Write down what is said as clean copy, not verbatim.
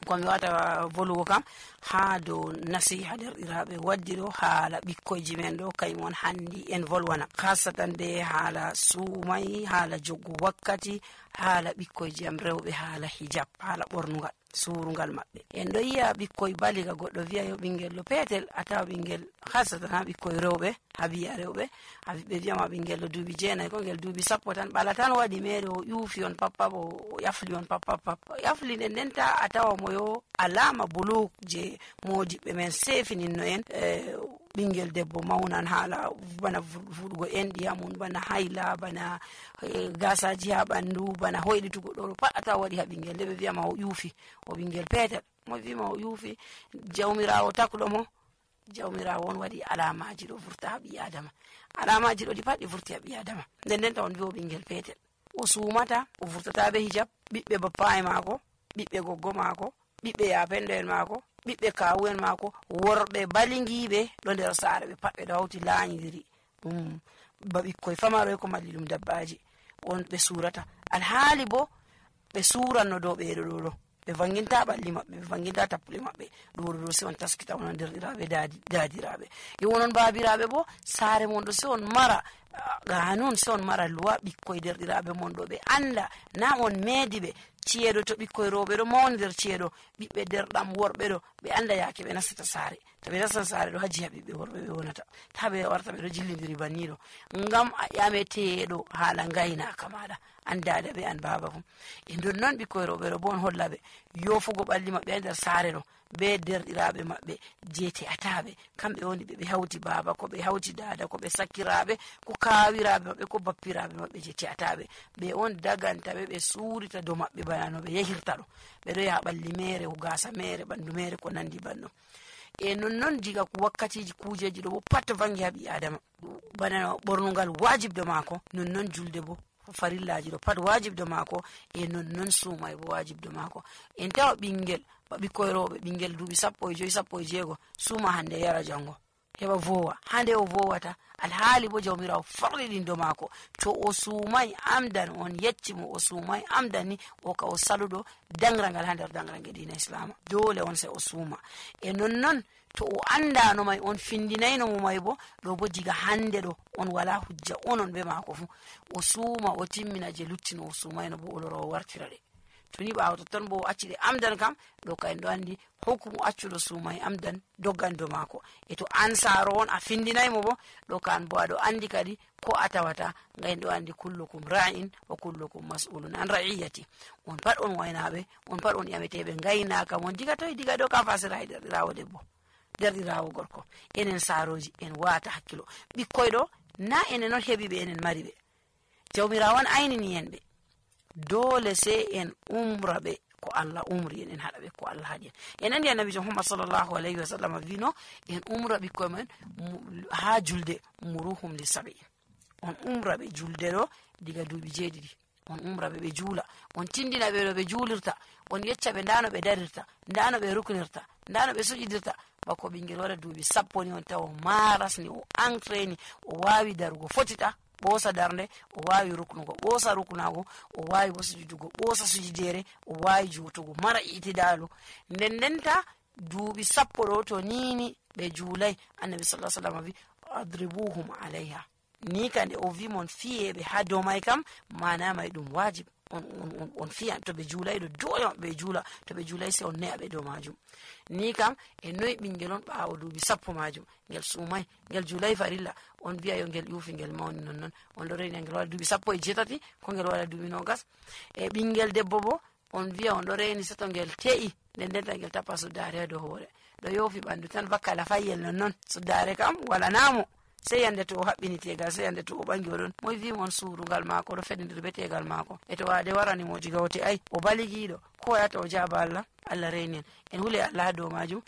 komi wata volugo kam ha dow nasiha derɗiraɓe waddi ɗo haala ɓikkoyji men ɗo kaymon handi en volwana hasatan de haala suumay, haala joggo wakkati, haala ɓikkoyji am rewɓe, haala hijab, haala ɓornugal surungal maɓɓe. En ɗo yi'a ɓikkoy baliga goɗɗo wi'a yo ɓingel ɗo petel a tawa ɓingel hasatan ha ɓikkoy rewɓe ha biya rewɓe ɓe wiyama ɓingel ɗo duuɓi 9 ko ngel duuɓi 10 tan ɓala tan waɗi mere o ƴuufi on pappa o yafli on pappa yafli nden ndenta a tawa mo yo alama buluk je modiɓɓe men sefininno en ɓingel debbo mawnan haala bana fuɗugo enɗi mum, bana hayla, bana gasaji ha ɓandu, bana hoyɗitugo ɗo pat a tawa waɗi ha ɓingel nde ɓe wiyama o ƴuufi o ɓingel petel mo wima o ƴuufi jawmirawo takɗo mo jawmirawo on waɗi alamaji ɗo vurta ha ɓi adama alamaji ɗo ɗi pat ɗi vurti ha ɓi adama nden ndenta on wi o ɓingel petel o sumata o vurtata be hijab ɓiɓɓe bappa e maako ɓiɓɓe goggo maako ɓiɓɓe yapendo en maako ɓiɓɓe kawu en maako worɓe balingiɓe ɗo nder saare ɓe pat ɓe ɗo hawti laanyidiri ɗum ba ɓikkoy famaroy ko malli ɗum dabbaji on ɓe surata alhaali bo ɓe suranno dow ɓeɗo ɗo ɓe vanginta ɓalli maɓɓe ɓe vanginta tappule maɓɓe ɗo se on taskita onon derɗiraɓe dadiraɓe yo wonon babiraɓe bo saare mon ɗo se on mara ganun se on mara luwa ɓikkoy derɗiraɓe mon ɗo ɓe anda na on meedi ɓe ciyeɗo to ɓikkoy rewɓe ɗo mawni nder ciyeɗo ɓiɓɓe derɗam worɓe ɗo ɓe anda yake ɓe nastata saare to ɓe nastan saare ɗo haji ha ɓiɓɓe worɓe ɓe wonata ta ɓe warta ɓe ɗo jillidiri banniɗo ngam a ƴameteɗo haala ngaynaka maɗa an dada ɓe an baba fu e nder noon ɓikkoy rewɓe ɗo bo on holla ɓe yofugo ɓalli maɓɓe ha nder saare ɗo be derɗiraɓe maɓɓe jeete ataɓe kamɓe woni ɓe hawti baba ko ɓe hawti dada ko ɓe sakkiraɓe ko kawiraɓe maɓɓe ko bappiraɓe maɓɓe jeete ataɓe ɓe on daganta ɓe suurita dow maɓɓe bana no ɓe yehirta ɗo ɓe ɗo yaha ɓalli mere gasa mere ɓandu mere ko nandi banno e nonnon diga wakkatiji kujeji ɗo bo pat vangi ha ɓi adama bana ɓornugal wajibdo maako nonnon julde bo farillaji ɗo pat wajibdo maako e nonnon suumay bo wajibdo maako en tawa ɓingel ba ɓikkoy rewɓe ɓingel duuɓi 15 16 suuma hande yara jango heɓa vowa hande o vowata alhaali bo jawmirawo farliɗindo maako to o suumay amdan on yeccimo o suumay amdan ni o ka o saluɗo dangrangal ha nder dangrange dina islama dole on se o suuma e nonnon to o andano may on findinayno mo may bo ɗo bo diga hande ɗo on wala hujja onon be maako fu o suuma o timmina je luttino o suumayno bo o loro o wartira ɗe to ni ɓaawo totton bo o acciɗe amdan kam ɗo ka en ɗo andi hukumu accuɗo suumay amdan doggando maako e to an saaro on a findinaymo bo ɗo ka an bo aɗo andi kadi ko a tawata nga en ɗo andi kullukum ra'in wa kullukum mas'ulun an ra'iyati on pat on waynaɓe on pat on ƴameteɓe ngaynaka mon diga toye diga ɗo ka fasira e derɗirawo debbo derɗirawo gorko enen saaroji en wata hakkilo ɓikkoy ɗo na enen on heɓi ɓe enen mari ɓe jawmirawo on aynini en ɓe dole se en umra ɓe ko Allah umri en haɗa ɓe ko Allah haɗi en andi annabijo Muhammad sallallahu alayhi wa sallam wino en umra ɓikkoy men ha julde muruhum li sabi on umra ɓe julde ɗo diga duuɓi 7 on umra ɓe juula on tindina ɓe ɗo ɓe juulirta on yecca ɓe ndano ɓe darirta ndano ɓe ruknirta ndano ɓe suƴidirta bako ɓingel waɗa duuɓi 10 ni on tawa marasni o entraini o wawi darugo fotita ɓoosa darnde o wawi ruknugo ɓoosa ruknago o wawi bo sujudugo ɓoosa sujudere o wawi juutugo mara itidalu nden ndenta duuɓi 10 ɗo to nini ɓe juulay annabi sallallahu alaihi wasallam wi adribuhum alayha ni kande o wi mon fiyeɓe ha dow may kam mana may ɗum wajib on fiyan to ɓe juulay ɗo dole ɓe juula to ɓe juulay se on ne'a ɓe dow majum ni kam e noyi ɓingel on ɓaawo duuɓi 10 majum ngel suumay ngel juulay farilla on mbiya yo ngel ƴuufi ngel mawni nonnon on ɗo reni ngel waɗa duuɓi 18 ko ngel waɗa duuɓi 20 e ɓingel debbo bo on wiya on ɗo reni seto ngel te'i nden ndenta ngel tappa suddare ha dow hoore ɗo yoofi ɓandu tan bakkala fayyel nonnon suddare kam wala namo sey yande to o haɓɓini tegal sey yande to o ɓangi oɗon moy wimo on suurugal maako ɗo feɗidir be tegal maako e to wade warani mo diga o te ay o baligiɗo ko yata o jaaba Allah Allah reni en huli Allah ha dow majum